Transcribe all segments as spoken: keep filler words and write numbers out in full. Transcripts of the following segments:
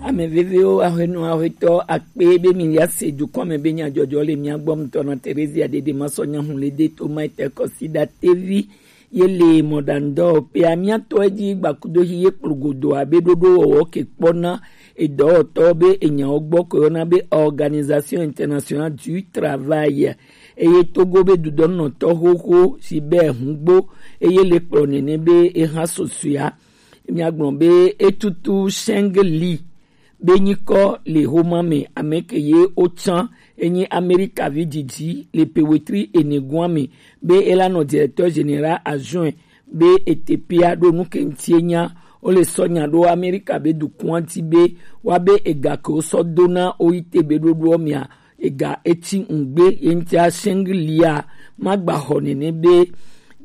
Ame veviwo, aƒenɔ, aƒetɔ, akpe be mi ya se dukɔ me be nyadzɔdzɔ le mia gbɔ ŋutɔ na Terezia Dede Masɔ Nyahun le de to ma ete kɔsi da tevi ye le mɔɖaŋudɔwɔƒea. Mia tɔ edzi gbakudo hi ye kplogodo abe ɖoɖo wɔwɔ ke kpɔna edɔwɔtɔ be enyawo gbɔ ko yɔna be Organisation Internationale du Travail. Eye Togo be dudɔnɔtɔ xoxo si be hungbo eye le kplɔ nene be eha sosoea. Miagblɔ be etutu Shengli be nyikɔ le homa me, ame ke ye wotsã enyi Amerika vi didi le pe wetri ene gua me be ela nɔ directeur général adjoint be etepea ɖo nu ke ŋuti enya. Wole sɔ nya ɖo Amerika be dukɔa ŋuti be woa be ega ke wosɔ do na woyi te be ɖoɖoɔ mea ega etsi ŋugbe ye ŋutia Shenglia magba xɔ nene be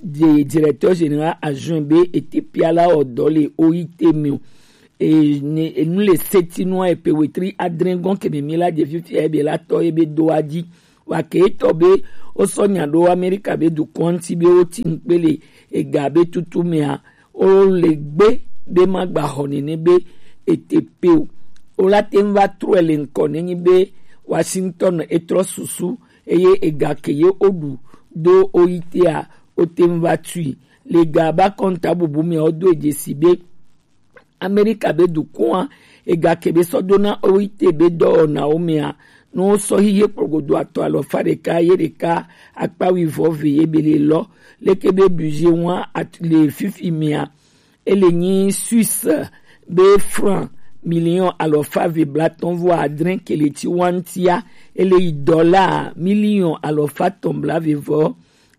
de directeur général adjoint be etepea la wɔ dɔ le woyi te me o. E, ne, enu le seti nua epe wetri adre gɔn ke mimi la je fifia ebe la tɔ ebe do adzi. Wa ke etɔ be wosɔ nya ɖo Amerika be dukɔ ŋuti be woti ŋukpe le ega be tutu mea, wole gbe be magba xɔ nene be ete pe o. Wola te ŋu va trɔe le ŋkɔ nenyi be Washington etrɔ susu eye ega ke ye woɖu do woyi tea, wote ŋu va tui. Le ga ba kɔnta bubu mea, wodo dzesi be Amerika be dukɔa ega ke be sɔ do na woyi te be dɔwɔnawo mea, ne wosɔ hihe kplogodo atɔ alɔfa ɖeka ye ɖeka akpa wivɔ ve ye be le lɔ leke be budget wa at-, le fifi mea, ele nyi Suisse be franc miliɔn alɔfa ve blatɔn vɔ adre ke le tsi wa ŋutia, ele yi dollar miliɔn alɔfa tɔn bla ve vɔ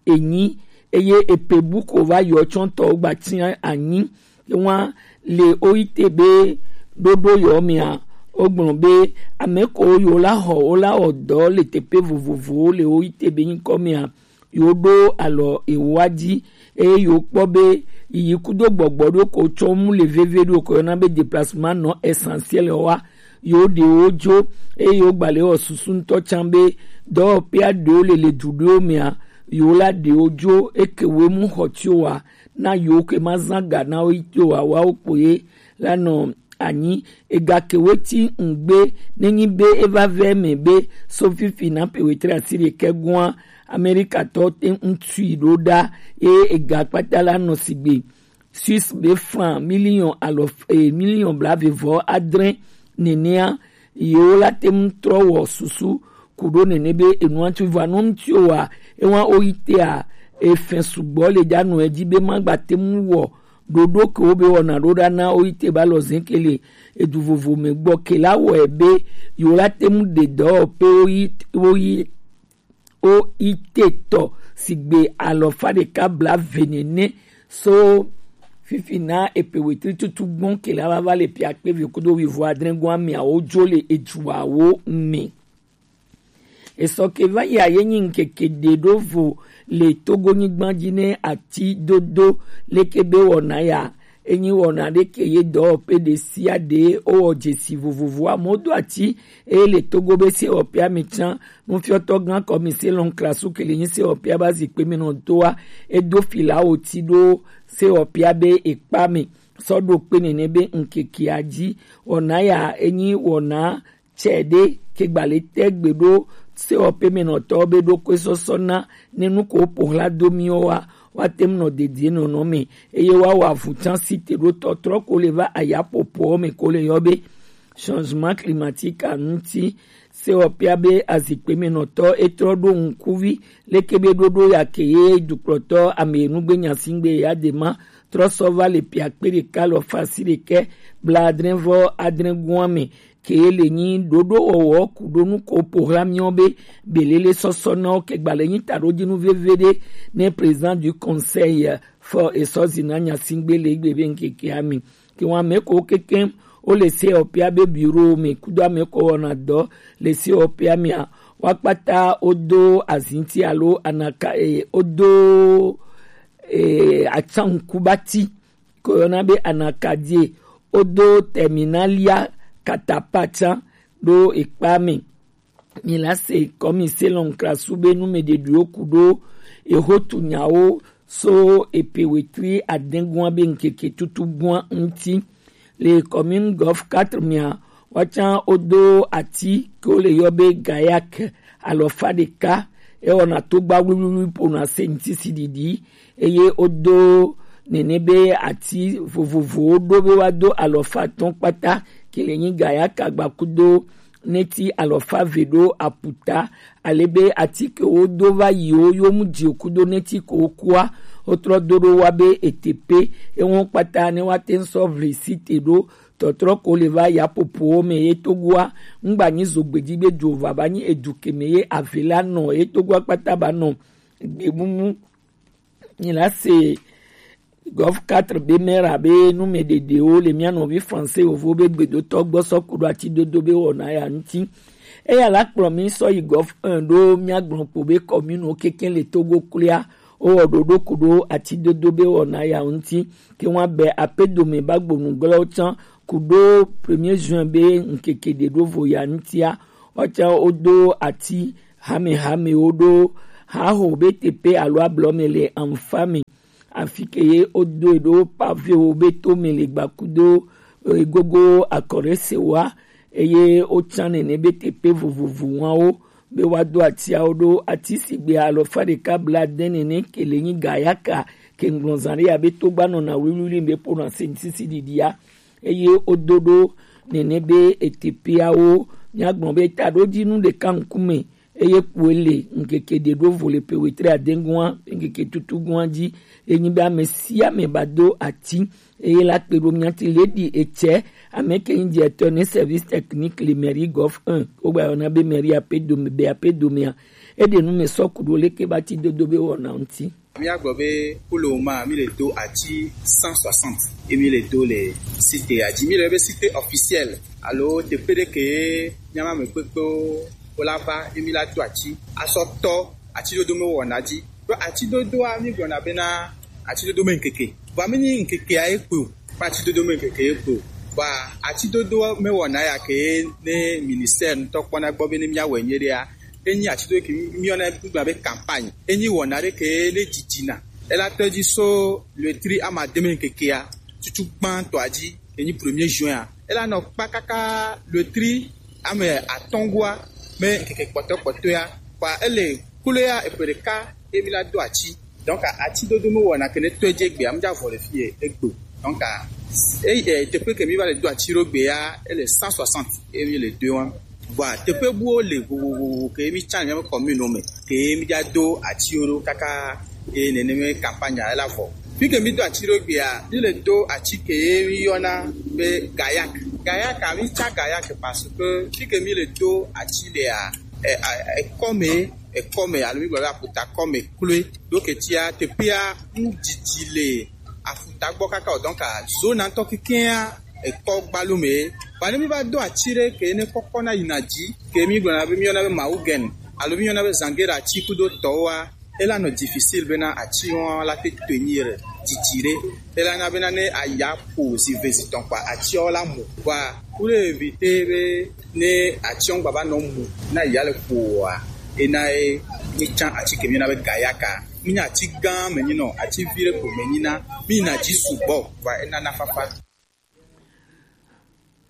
enyi, eye epe bu ko va yɔ tsɔntɔwo gba tia anyi. Ewa le woyi te be ɖoɖo yɔ mea, wogblɔ be ame ko yo la xɔ wo la wɔ dɔ le teƒe vovovowo le woyi te be nyikɔ mea, yo ɖo alɔ ewoa dzi eye yo kpɔ be yiyi kudo gbɔgbɔ ɖo ko tsɔ mu le veve ɖo ko yɔna be déplacement non essentiel wa, yo ɖewo dzo eye yo gbalẽ wɔ susu ŋutɔ tsã be dɔwɔƒea ɖewo le le du ɖewo mea, yo la ɖewo dzo eke wo mu xɔ tsi wa na yo ke ma zã ga na wo yi tsi wa wa wo kpo ye la nɔ anyi. Ega ke wo ti ŋgbe nenyi be eva vɛ me be so fifi na pe wetri asi ɖekɛ gua Amerikatɔ te ŋutui ɖo ɖa ye ega kpata la nɔ sigbe Suisse be franc miliɔn alɔ e miliɔn blaeve vɔ adre nenea, yewo la te ŋu trɔ wɔ susu ku ɖo nene be enua tsu va nɔ ŋuti wa ewa wo yi tea efɛ sugbɔ le dza nɔ edzi be magba te ŋu wɔ ɖoɖo ke wo be wɔna ɖo ɖa na wo yi te ba lɔ zɛ ke le edu vovo me gbɔ ke la wɔe be yewo la te ŋu ɖe dɔwɔƒe wo yi wo yi wo yi te tɔ sigbe alɔfa ɖeka blaeve nene so fifi na epe wetri tutu gbɔn ke la va va le pia kpe ve kudo wivo adre gɔn ameawo dzo le eduawo me. Esɔ ke va yi aye nyi ŋkeke ɖe ɖo vo le Togo nyigba dzi ne ati dodo leke be wɔna ya. Enyi wɔna ɖe ke ye dɔwɔƒe ɖe sia ɖe wowɔ dzesi vovovo amewo do ati eye le Togo be sewɔƒea me tsã nufiɔtɔ gã kɔmi selɔn klasu ke le nyi sewɔƒea ba zikpe me nɔ doa edo filawo ti ɖo sewɔƒea be ekpa me sɔ ɖo kpe nene be ŋkekea dzi. Wɔna ya enyi wɔna tsɛ ɖe ke gbalẽ te gbe ɖo sewɔƒe me nɔtɔ be ɖo koe sɔsɔ na ne nu ko ƒo hla do miwo wa wa te ŋu nɔ dedie nɔnɔ me eye wa wa vu tsã si te ɖo tɔtrɔ ko le va aya ƒoƒowo me ko le yɔ be changement climatique a ŋuti. Sewɔƒea be azikpe me nɔtɔ etrɔ ɖo ŋkuvi leke be ɖoɖo ya ke ye dukplɔtɔ ame nugbe nyasingbe ya de ma trɔ sɔ va le pia kpe ɖeka lɔ fasi ɖekɛ bla adre vɔ adre gua me ke le nyi ɖoɖo wɔwɔ ku ɖo nu ko ƒo hla miɔ be belele sɔsɔ na wo ke gbalẽ nyi taɖodzinu veve ɖe ne président du conseil fɔ esɔ zina nyasingbe le egbe be ŋkekea me. Ke wa me ko keke wo le sewɔƒea be bureau me kudo ame ko wɔna dɔ le sewɔƒea mea, wa kpata wodo azinti alo anaka e wodo e atsankubati ko yɔna be anakadie wodo terminalia katapatsa ɖo ekpa me. Mi la se kɔmi selɔn krasu be nu me ɖeɖiwo ku ɖo ehotu nyawo so epe wetri adegua be ŋkeke tutu gua ŋuti. Le commune Golf quatre mea, Woatsã wodo ati ke wole yɔ be gayak alɔfa ɖeka, ewɔna togba wluwlui pona sɛntisisi ɖiɖi, eye wodo nene be ati vovovowo ɖo be woado alɔfa atɔ̃ kpata, ke le nyi gayak agbakudo neti alɔfa eve ɖo aputa, ale be ati ke wodo va yi wo yo mu dzi kudo neti ke wokua, wotrɔ do ɖo wa be etepe, ewo kpata ne woate ŋu sɔ vli site ɖo tɔtrɔ ko le va yapopowo me ye Togoa, ŋgba nyi zogbeji be dzo va ba nyi edu ke me ye ave la nɔ ye Togoa kpata ba nɔ gbemumu. Nyi la se Gov quatre be mera be numeɖeɖewo le mía nɔvi français yovo be gbedotɔ gbɔ sɔ ku ɖo atidodo be wɔna ya ŋuti. Eya la kplɔ mi sɔ yi Gov un ɖo míagblɔ kpo be commune wo kekeŋ le Togo kloa wowɔ ɖoɖo ku ɖo atidodo be wɔna ya ŋuti. Ke ŋua be ape dome ba gbonu glɔwo tsã ku ɖo premier juin be ŋkeke ɖe ɖo vo ya ŋutia, woatsã wodo ati hamehamewo ɖo haho be teƒe alo ablɔ me le anfa me. Afi ke ye wodoe ɖo pavewo be to me le gbakudo, eh, gogo akɔre sewa, eye wotsã nene be teƒe vovovo wawo be woado atiawo ɖo. Ati sigbe alɔfa ɖeka blaade nene ke le nyi gayaka ke ŋgblɔ zã ɖe ya be to gba nɔna wliwli be ƒona sensisi ɖiɖia, eye wodo ɖo nene be eteƒeawo, míagblɔ be taɖodzinu ɖeka ŋkume, eye kpoe le ŋkeke ɖe ɖo vo le pe wetri ade gua, ŋkeke tutu gua dzi, enyi be ame sia ame ba do ati, eye la kpe ɖo mía ti lady etsɛ, ame ke nyi directeur ne service technique le mairie Golf un, wogba yɔna be mairie ape dome, be ape domea, eɖe nu me sɔ ku ɖo leke ba ti dodo be wɔna ŋuti. Míagblɔ be pour le moment, mi le do ati cent soixante, ye mi le do le site ya dzi. Mi le be site officiel alo teƒe ɖe ke míama ame kpekpewo wola va ye mi la do ati asɔ tɔ atidodo me wɔna dzi. Ɖo atidodoa, mi gblɔna bena atidodo me ŋkeke. Vɔa mi nyi ŋkekea ye kpe o. Ƒe atidodo me ŋkeke ye kpo. Vɔa atidodo me wɔna ya ke ne ministère ŋutɔ kpɔna gbɔ be ne míawɔe nyuie ɖea, enyi atidodo ke míyɔna ŋugblɔna be campagne. Enyi wɔna ɖe ke ne dzidzina. Ela tɔ dzi so le tri amademe ŋkekea, tutu gbãtɔa dzi, enyi premier juin a. Ela nɔ kpa kaka le tri ame atɔ̃ goa me ŋkeke kpɔtɔkpɔtɔea. Kpa ele kloea eƒe ɖeka ye mi la do ati. Donc, atidodo me wɔna ke ne tɔe dze gbea, mi dza vɔ le fi ye egbe. Donc, e, e, teƒe ke mi va le do ati ɖo gbea, ele cent soixante ye mi le do wa. Vɔa, teƒe buwo le vovovo ke mi tsa le míaƒe commune me ke mi dza do atiwo ɖo kaka ye nene me campagne la vɔ. Fi ke mi do ati ɖo gbea, mi le do ati ke mi yɔna be gayak. Gayak a, mi tsa gayak parce que fi ke mi le do ati ɖea, e, a, ekɔ me, ekɔ me, alo mi gblɔ be aƒuta kɔ me kloe. Ɖo ketia, teƒea nu didi le aƒuta gbɔ kaka o. Donc, a, zona ŋutɔ kekea, ekɔ gbalo me. Vɔa ne mi va do ati ɖe ke ne kɔkɔ na yina dzi, ke mi gblɔna be mi yɔna be mawugen, alo mi yɔna be zangera ati kudo tɔwoa, ela nɔ difficile bena ati wɔn la te tenir didi ɖe. Ela na bena ne aya ƒo zi ve zi tɔn kpa atiawo la mu. Vɔa, pour éviter be ne atiawo gbava nɔ mu na ya le ƒoa, ena ye mi tsa ati ke mi yɔna be gayaka. Mi nya ati gã me nyi nɔ, ati vi ɖe ko me nyi na, mi yina dzi sugbɔ, vɔa ena na fafa.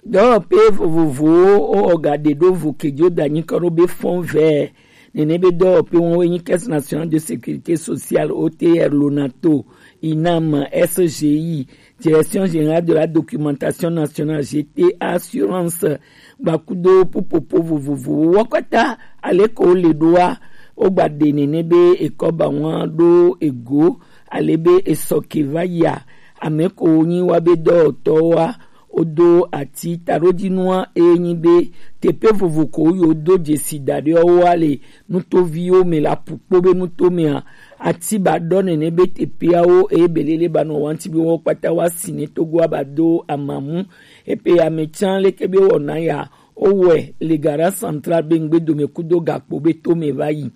Dɔwɔƒe vovovowo wowɔ ga ɖe ɖo vo ke dzo da nyi kɔ ɖo be fond vert. Nene be dɔwɔƒe wɔn woe nyi Caisse Nationale de Sécurité Sociale, O T R, Lonato, inam, S G I, Direction Générale de la Documentation Nationale, G T A, Assurance, gbakudo pupopo vovovowo. Wo kpata ale ko le ɖoa, wogba ɖe nene be ekɔ ba wɔn ɖo ego, ale be esɔ ke va yia, ame ko nyi wa be dɔwɔtɔwoa, wodo ati taɖodzinua, eye nyi be teƒe vovo ko yo do dzesi da ɖe woa le nutoviwo me le aƒukpo be nuto mea, ati ba ɖɔ nene be teƒeawo, eye belele ba nɔ wanti be wo kpata wa si ne togoa ba do amamu. Epe ya me tsã leke be wɔna ya, wowɔe le gara central be ŋgbe dome kudo gakpo be to me va yi.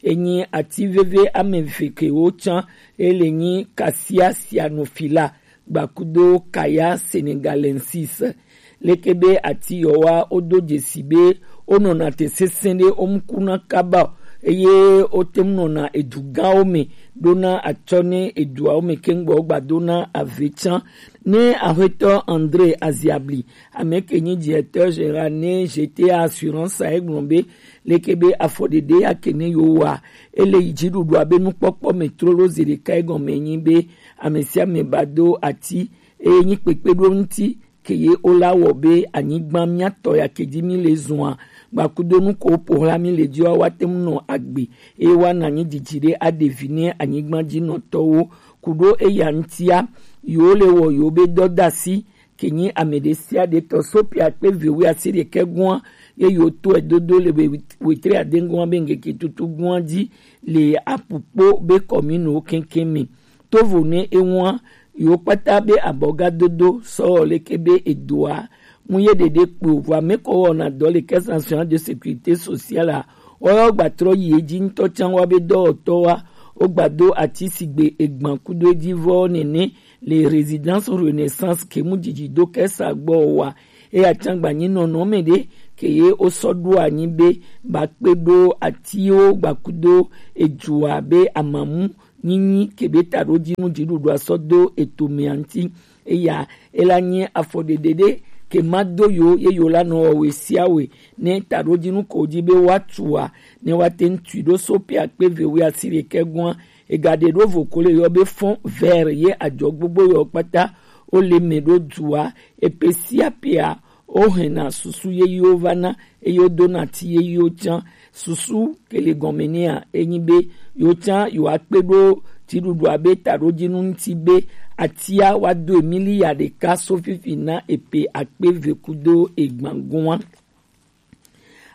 Enyi ati veve ame eve ke wo tsã, ele nyi kasia sianofila gbakudo kaya senegalensis. Leke be ati yɔwa wodo dzesi be wonɔna te sesẽ ɖe wo ŋku na kaba o, eye wote ŋu nɔna edu gãwo me ɖona atsɔ ne eduawo me keŋ gbɔ wogba dona ave tsã. Ne Aƒetɔ André Aziabli, ame ke nyi directeur général ne G T A Assurance a, egblɔ be leke be afɔɖeɖe ya ke ne yewowa, ele yi dziɖuɖua be nukpɔkpɔ me trolo zi ɖeka. Egɔme nyi be ame sia ame ba do ati eye nyi kpekpe ɖo ŋuti ke ye wola wɔ be anyigba miatɔ ya ke dzi mi le zɔa, gbakudonu ko ƒo xla mi le dzi wa, woate ŋu nɔ agbe eye woana anyi didi ɖe aɖe vi ne anyigba dzi nɔtɔwo. Ku ɖo eya ŋutia, yewo le wɔ yewo be dɔdasi ke nyi ame ɖe sia ɖe tɔ. Sopia kpe ve wi asi ɖekɛ gɔa ye yewo tɔe dodo le we-, wetri ade gɔa be ŋkeke tutu gɔa dzi le apu kpo be kɔminowo keŋkeŋ me. Tovo ne eŋua, yewo kpata be abɔgadodo sɔ leke be edoa ŋu ye ɖeɖe kpo, vɔ ame ko wɔna dɔ le Caisse Nationale de Sécurité Sociale a, woyɔ gbatrɔ yi edzi ŋutɔ tsã wa be dɔwɔtɔ wa, wogba do ati sigbe egban kudo edzi vɔ nene le Résidence Renaissance ke mu didi do kesa gbɔ wa. Eya tsã gba nyi nɔnɔme ɖe ke ye wosɔ ɖo anyi be ba kpe ɖo atiwo gbakudo edzua be amamu nyinyi ke be taɖodzinu dziɖuɖua sɔ do eto mea ŋuti. Eya ela nyi afɔɖeɖe ɖe ke ma do yo ye yo la nɔ wɔ we sia we ne taɖodzinu ko dzi be woatua ne woate ŋu tui ɖo so pe akpe ve wi asi ɖekɛ gɔa. Egaɖe ɖo vo ko le yɔ be fond vert ye adzɔ gbogbo yɔ kpata wole me ɖo dua epe sia pea wohena susu yeyiwo vana eye wodona ti yeyiwo tsã. Susu ke le gɔme nɛa enyi be yewo tsã yewoakpe ɖo dziɖuɖua be taɖodzinu ŋuti be atia woado emiliya ɖeka so fifi na epe akpe ve kudo egban gɔa.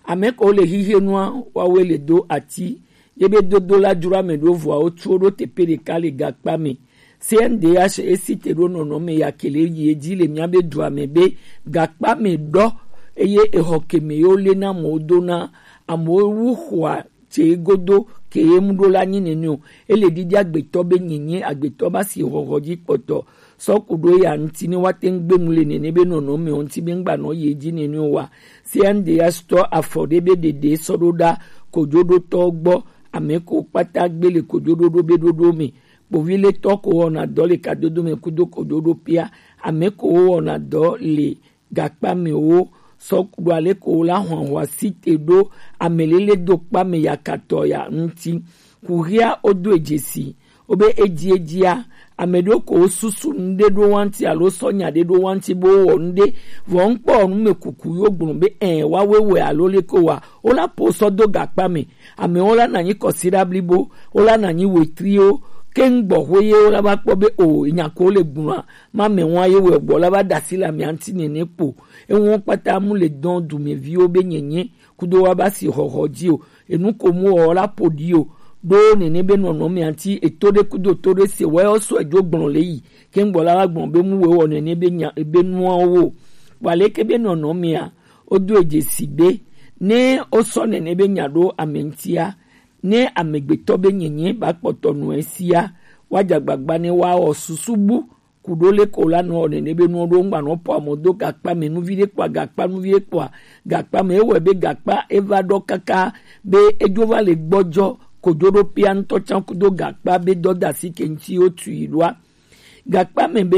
Ame ko le xixe nua woawoe le do ati ye be dodo la dzro ame ɖo vɔa wotsuwo ɖo teƒe ɖeka le gakpa me. C N D H esi te ɖo nɔnɔme ya ke le yi edzi le mía be dua me be gakpa me ɖɔ eye exɔ ke me yewo lena amewo dona, amewo wu xɔa tse godo ke ye mu ɖo la nyi nene o. Ele ɖiɖi agbetɔ be nyenye agbetɔ ba si xɔxɔ dzi kpɔtɔ sɔ ku ɖo eya ŋuti ne woate ŋu gbe nu le nene be nɔnɔme wo ŋuti be ŋgba nɔ yi edzi nene o wa. C N D H tɔ afɔ ɖe be ɖeɖe sɔ ɖo ɖa kojoɖotɔ gbɔ, ame ko kpata gbe le kojoɖoɖo be ɖoɖo me. Kpoviletɔ ko wɔna dɔ le kadodo me kudo kojoɖo pia, ame ko wɔna dɔ le gakpa me wo sɔ ku ɖo ale ko la hwanhwa si te ɖo ame lele do kpa me yakatɔ ya ŋuti. Kuhia wodo edzesi wobe edzi edzia, ame ɖewo ko wosusu nu ɖe ɖo wa ŋuti alo sɔ nya ɖe ɖo wa ŋuti be wowɔ nu ɖe, vɔ ŋkpɔ nu me kuku yo gblɔ be ɛ wa we wɛ alo le ko wa, wola po sɔ do gakpa me. Amewo la na nyi kɔsiɖa blibo, wola na nyi wetriwo, ke ŋgbɔ hwe ye wola va kpɔ be o nya ko le gblɔa ma me wa ye wɛ gbɔ la va dasi le amea ŋuti nene kpo. Ewo kpata mu le dɔn dumeviwo be nyenye kudo wa ba si xɔxɔ dzi o. Enu ko mu wɔ la ƒo ɖi o. Ɖo nene be nɔnɔmea ŋuti eto ɖe kudo to ɖe se wɔ sɔ edzo gblɔ le yi. Ke ŋgbɔ la va gblɔ be mu wɔ nene be nya be nuawo o. Wa leke be nɔnɔmea wodo edzesi be ne wosɔ nene be nya ɖo ame ŋutia, ne amegbetɔ be nyenye ba kpɔtɔ nu esia, woadze agbagba ne woawɔ susu bu ku ɖo le ko la nɔ nene be nɔ ɖo ŋgba nɔ pɔ amɔ do gakpa me nuvi ɖe kpɔa gakpa nuvi ɖe kpɔa gakpa me ewɔe be gakpa eva ɖɔ kaka be edzo va le gbɔdzɔ kodzo ɖo pia ŋutɔ tsã kudo gakpa be dɔdasi ke ŋuti wo tui ɖoa. Gakpa me be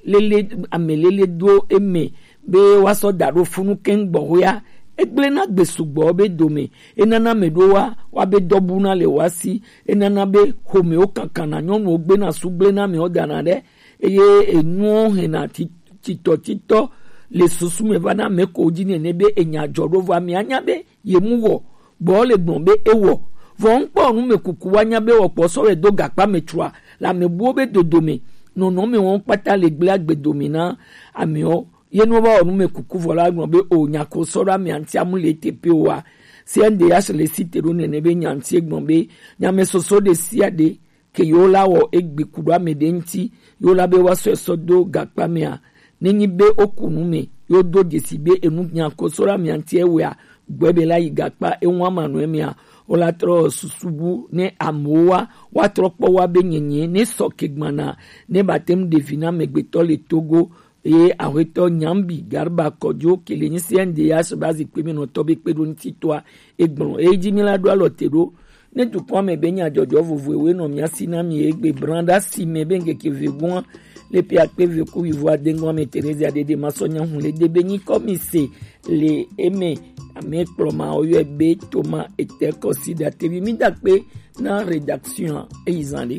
lele ame lele do eme be woasɔ da ɖo funu keŋ gbɔxɔea, egblẽna gbe sugbɔ be dome, enana ame ɖowoa woabe dɔbuna le woa si, enana be xomewo kakana, nyɔnuwo gbena su gblẽna amewo dana ɖe, eye enuwo hena ti- titɔtitɔ le susu me va na ame ko dzi nene be enya dzɔ ɖo vɔ amea nya be ye mu wɔ gbɔ le gblɔ be ewɔ. Vɔ ŋkpɔ nu me kuku wa nya be wɔ kpɔ sɔ wɛ do gakpa me tsua le ame buwo be dodo me nɔnɔ me wɔn kpata le gble agbe domi na amewo. Ye nu va wɔ nu me kuku vɔ la gblɔ be o nya ko sɔ ɖo amea ŋuti amu le te pe wa. C N D H le si te ɖo nene be nya ŋuti gblɔ be nyame soso ɖe sia ɖe ke yewo la wɔ egbe ku ɖo ame ɖe ŋuti, yewo la be woasɔe sɔ do gakpa mea, nenyi be woku nu me, yewo do dzesi be enu nya ko sɔ ɖo amea ŋuti ewea, gbɔe be la yi gakpa eŋu ama nu emea, wola trɔ susu bu ne amewo wa, woatrɔ kpɔ wa be nyenye ne sɔ ke gbana, ne ba te ŋu ɖe vi na amegbetɔ le Togo, eye aƒetɔ Nyambi Garba Kɔdzo ke le nyi C N D H ba zikpui me nɔtɔ be kpeɖoŋutitɔa egblɔ. Eyi dzi mi la ɖo alɔ te ɖo. Ne dukɔa me be nyadzɔdzɔ vovovoe nɔ mia si na mi egbe blan ɖe asi me be ŋkeke ve gɔa, Le pia kpe ve ku wivo adengo ame Teresa Dede Masɔnya hun le debe nyi kɔmise le eme ame kplɔma oyɔ be Toma ete kɔsi da tevi mi da kpe na rédaction eyizan le.